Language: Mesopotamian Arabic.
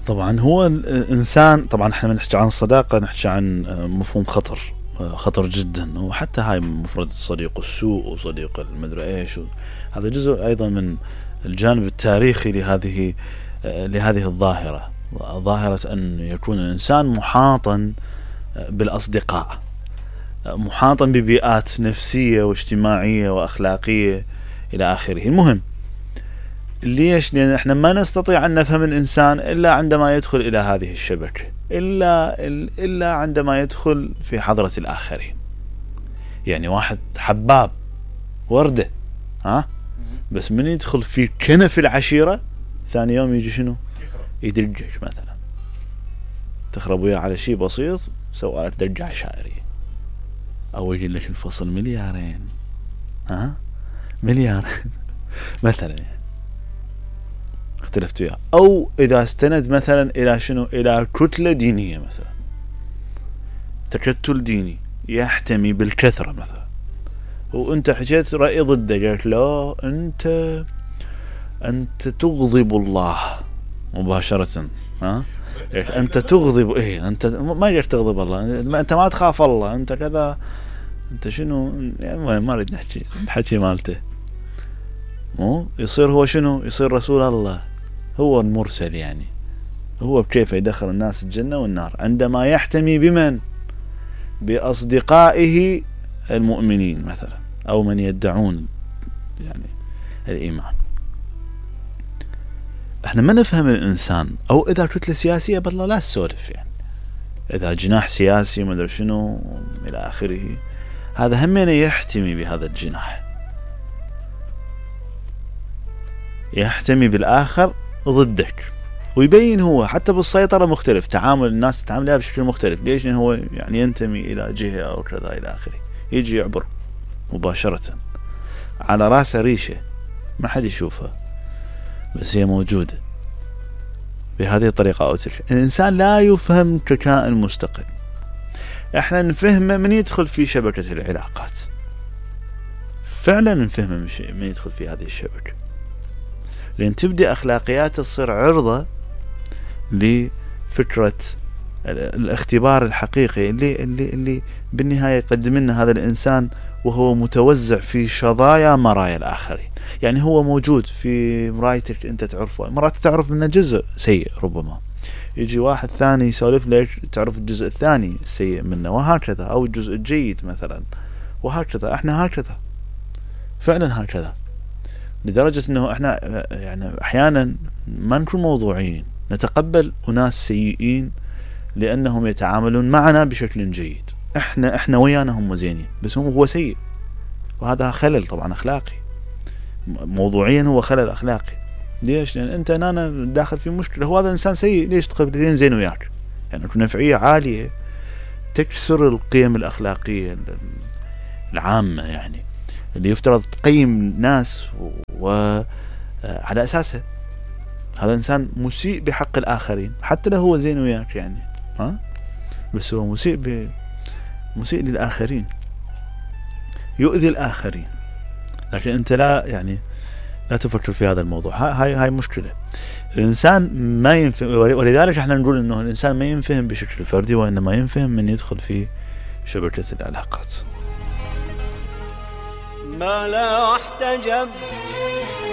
طبعا هو الانسان، طبعا احنا نحكي عن الصداقه نحكي عن مفهوم خطر جدا، وحتى هاي مفردة صديق السوء وصديق المدري ايش، هذا جزء ايضا من الجانب التاريخي لهذه الظاهرة، ظاهرة ان يكون الانسان محاطا بالاصدقاء، محاطا ببيئات نفسية واجتماعية واخلاقية الى اخره. المهم ليش؟ لان احنا ما نستطيع ان نفهم الانسان الا عندما يدخل الى هذه الشبكة، الا عندما يدخل في حضرة الاخرين. يعني واحد حباب وردة بس من يدخل في كنف العشيرة ثاني يوم يجي شنو؟ يدرجك مثلا، تخرب وياه على شيء بسيط سوى لك درجة عشائرية، او يجي لك الفصل مليارين مليار مثلا، يعني اختلفت وياه. او اذا استند مثلا الى شنو؟ الى كتلة دينية مثلا، تكتل ديني يحتمي بالكثرة مثلا، وانت حكيت رأي ضده، قالت له انت تغضب الله مباشرة، انت تغضب، انت ما قدرت تغضب الله، انت ما تخاف الله، انت كذا، انت شنو، ما اريد نحكي الحكي مالته. مو يصير هو شنو؟ يصير رسول الله، هو المرسل، يعني هو بكيف يدخل الناس الجنة والنار عندما يحتمي بمن؟ بأصدقائه المؤمنين مثلا، او من يدعون يعني الإيمان. احنا ما نفهم الانسان، او اذا كتلة سياسية بالله لا تسولف، يعني اذا جناح سياسي ما ادري شنو الى اخره، هذا همين يحتمي بهذا الجناح، يحتمي بالاخر ضدك، ويبين هو حتى بالسيطرة مختلف، تعامل الناس تتعامل بشكل مختلف. ليش؟ لأنه هو يعني ينتمي الى جهة او كذا الى اخره، يجي يعبر مباشرة على راسه ريشة ما حد يشوفها، بس هي موجودة بهذه الطريقة أو تلك. الإنسان لا يفهم ككائن مستقل، احنا نفهمه من يدخل في شبكة العلاقات، فعلا نفهمه من يدخل في هذه الشبكة، لأن تبدأ أخلاقياته تصير عرضة لفكرة الاختبار الحقيقي اللي بالنهاية يقدم لنا هذا الإنسان وهو متوزع في شظايا مرايا الآخرين. يعني هو موجود في مرايتك أنت تعرفه، مرات تعرف منه جزء سيء، ربما يجي واحد ثاني يسولف لك تعرف الجزء الثاني السيء منه، وهكذا، أو الجزء الجيد مثلا، وهكذا. احنا هكذا فعلا هكذا، لدرجة أنه احنا يعني أحيانا ما نكون موضوعيين، نتقبل أناس سيئين لأنهم يتعاملون معنا بشكل جيد، احنا ويانا هم زينين بس هو سيء، وهذا خلل طبعا أخلاقي، موضوعيا هو خلل أخلاقي. ليش؟ لأن أنت أنا داخل في مشكلة، هو هذا إنسان سيء، ليش تقبل لين زين وياك؟ يعني نفعية عالية تكسر القيم الأخلاقية العامة، يعني اللي يفترض تقيم ناس وعلى أساسه. هذا إنسان مسيء بحق الآخرين حتى لو هو زين وياك، يعني بس هو مسيء للآخرين، يؤذي الآخرين، لكن أنت لا تفكر في هذا الموضوع. هاي مشكلة. الإنسان ما ينفهم، ولذلك احنا نقول إنه الإنسان ما ينفهم بشكل فردي، وإنما ينفهم من يدخل في شبكة العلاقات. ما لا احتجب